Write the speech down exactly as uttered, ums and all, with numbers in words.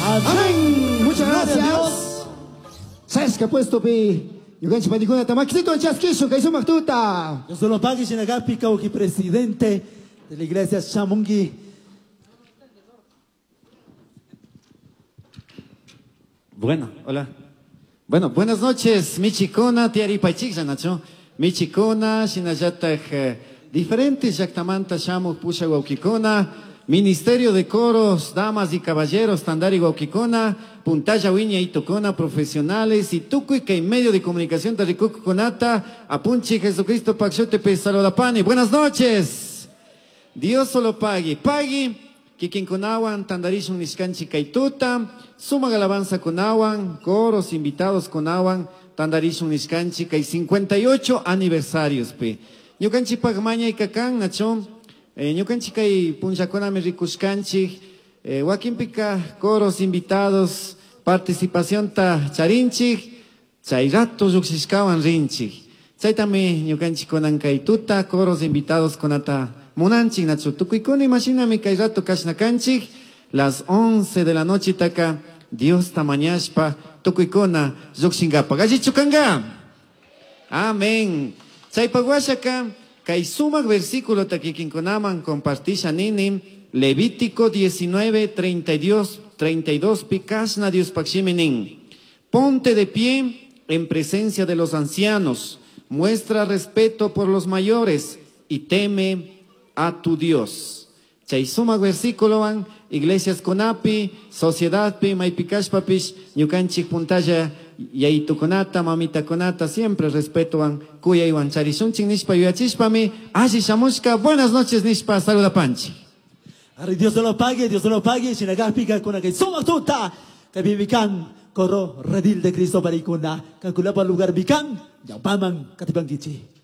Amén. Muchas Gloria a gracias. Dios. Sasca puesto pi. Ñukanchik panikunata makisito chaskishun kay sumaq tuta. Dios se lo pague, Shinagapi, Kauji, presidente de la iglesia Shamungi. Bueno, hola. Bueno, buenas noches, Michikuna, Tiaripachik, Nacho. Michikuna, Shinayataj, eh, diferentes Yaktamanta, Shamu, Pusha, Huauquicuna, Ministerio de Coros, Damas y Caballeros, Tandari, Huauquicuna, Puntaya, Wiña y Tocona, profesionales, y Tucuy, que en medio de comunicación, Tarricucu, Conata, Apunchi, Jesucristo, Paxote, Pesalodapani. Buenas noches. Dios solo pague. Pague. Kikinkunawan, tandarishun nishkanchi kaytuta, sumaq alabanza kunawan, coros invitados kunawan, tandarishun nishkanchi kay cincuenta y ocho aniversarios pe. Ñukanchipaq mañay kakan, nacho, eh, ñukanchi kay punllakunami rikushkanchik, eh, wakinpika coros invitados, participación ta charinchik, chay rato lluqshishkawan rinchik. Chaytami ñukanchik kunan kaytuta, coros invitados kunata munanchik, nacho, tukuykuna imashinami kay rato kashna kanchik, las once de la noche taka, Dios ta mañashpa, tukuykuna lluqshinkapa. Gallichu kanga. Amén. Chaypaq washaka, kay sumaq versículo ta kikinkunaman compartisha nini, Levítico diecinueve, treinta y dos, treinta y dos, pi kashna Dios pakshimi nin. Ponte de pie en presencia de los ancianos, muestra respeto por los mayores y teme a tu Dios. Chay sumaq versículo van, iglesias kunapi, sociedad pi, maypikashpapish, ñukanchik puntalla, yayitukunata, mamitakunata, siempre respeto van, kuyaywan charishunchik nishpa yuyachishpami, alli shamushka, buenas noches nishpa, saludapanchi. Arre, Dios se lo pague, Dios se lo pague, shinagapika kuna kay sumaq tuta, kay bibikan, coro redil de Cristo parikuna, kakulapa lugar bikan, yapaman katipankichi.